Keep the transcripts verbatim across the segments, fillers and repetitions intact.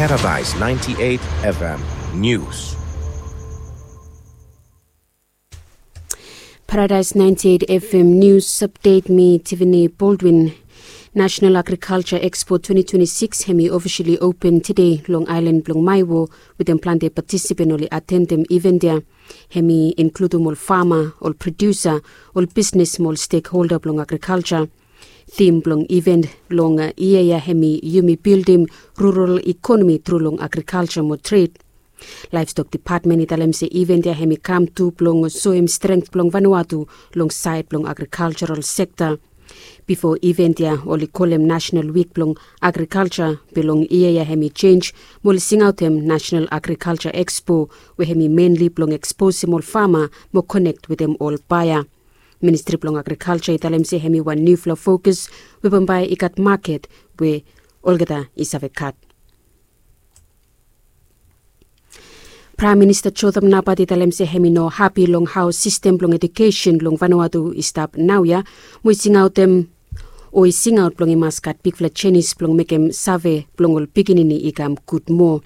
Paradise ninety-eight F M News. Paradise ninety-eight F M News Update, mi Tiffany Baldwin. National Agriculture Expo twenty twenty-six hemi officially open today long aelan blong Maewo, wetem plante patisipen oli atendem event ya. Hemi inkludum ol fama, ol produsa, ol bisnes mo ol stekholda blong agrikalja. Tim blong event long yia ya hemi yumi bildim rural ikonomi tru long agrikalja mo tred. Laevstok depatmen i talem se event ya hemi kam tu blong soem strength blong Vanuatu long saed blong agrikaljaral sekta. Bifo event ya oli kolem Nasenal Wik blong Agrikalja, be long yia ya hemi jenj mo oli singaotem Nasenal Agrikalja Ekspo, we hemi menli blong eksposem ol fama mo konek wetem ol baea. Ministri blong Agrikalja i talem se hemi wan niufala fokus we bambae i gat maket we olgeta i save gat. Praem Minista Jotham Napat i talem se hemi no hapi long hao sistem blong ejukesen long Vanuatu i stap naoia, mo i singaotem o i singaot blong i mas gat bigfala jenis blong mekem save blong ol pikinini i kam gud moa.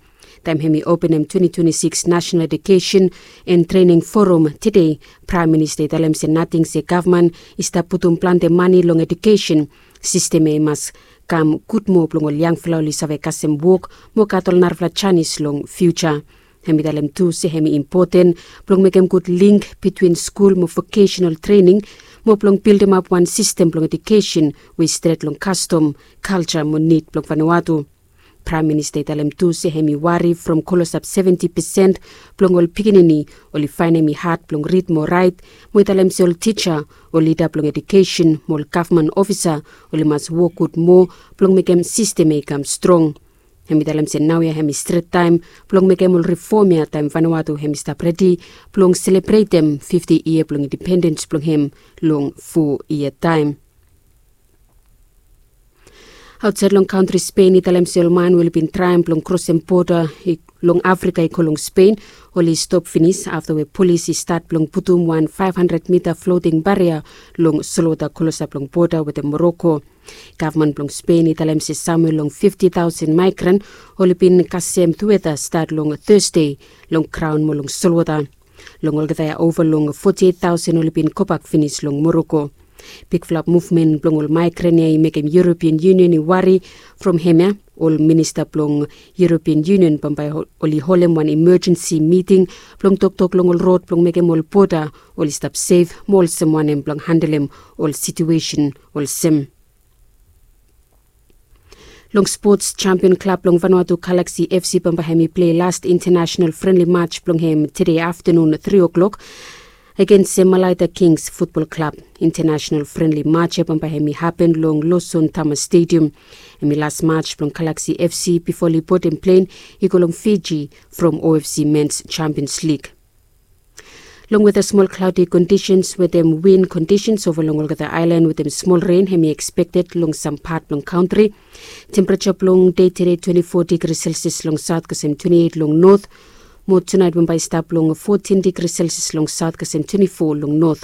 Taem hemi openem twenty twenty-six National Education and Training Forum tede, Praem Minista i talem se nating se gavman i stap putum plante mane long ejukesen, sistem ya i mas kam gud moa blong ol yangfala oli save kasem wok mo gat ol narafala janis long fiuja. Hemi talem tu se hemi impoten blong mekem gud link bitwin skul mo vokesenal trening, mo blong bildemap wan sistem blong ejukesen we i stret long kastom, kalja mo nid blong Vanuatu. Praem Minista i talem tu se hemi wari from klosap seventi pesen blong ol pikinini oli faenem i had blong rid mo raet, mo i talem se ol tija, ol lida blong ejukesen mo ol gavman ofisa oli mas wok gud moa blong mekem sistem ya i kam strong. Hemi talem se naoia hemi stret taem blong mekem ol rifom ya taem Vanuatu hemi stap redi blong selebretem fifti yia blong independens blong hem long fo yia taem. Aotsaed long kantri Spen i talem se ol man we oli bin traem blong krosem boda long Afrika i go long Spen oli stop finis afta we polis i stat blong putum wan faef handred mita floting baria long solwota klosap long boda wetem Moroko. Gavman blong Spen i talem se samwe long fifti taosen maegran oli bin kasem tueta stat long Tasde long graon mo long solwota. Long olgeta ya ova long foti eit taosen oli bin gobak finis long Moroko. Bigfala muvmen blong ol maegran ya i mekem European Union i wari. From hemia ol minista blong European Union bambae oli holem wan imajensi miting blong toktok long ol rod blong mekem ol boda oli stap sef mo olsem wanem blong handelem ol situesen olsem. Long spots, jampion klab blong Vanuatu Galaxy F C bambae hemi plei las intanasenal frenli maj blong hem tede aftanun tri o'clock agens Malaita Kings futbol klab. Intanasenal frenli maj ya bambae hemi hapen long Loson Tama Stadium. Hemi las maj blong Galaxy F C bifo oli bodem plen i go long Fiji from O F C Mens Champions League. Long weta, smol klaodi kondisens wetem win kondisens ova long olgeta aelan wetem smol ren hemi ekspekted long sam pat blong kantri. Tempereja blong dei tede twenti fo digri selsias long saot kasem twenti eit long not. Mo tunaet bambae i stap long fotin digri selsias long saot kasem twenti fo long not.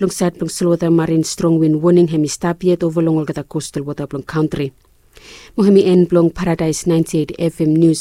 Long saed blong solwota, marin strong win woning hemi stap yet ova long olgeta kostal wota blong kantri. Mo hemi en blong Paradaes naenti eit F M nius.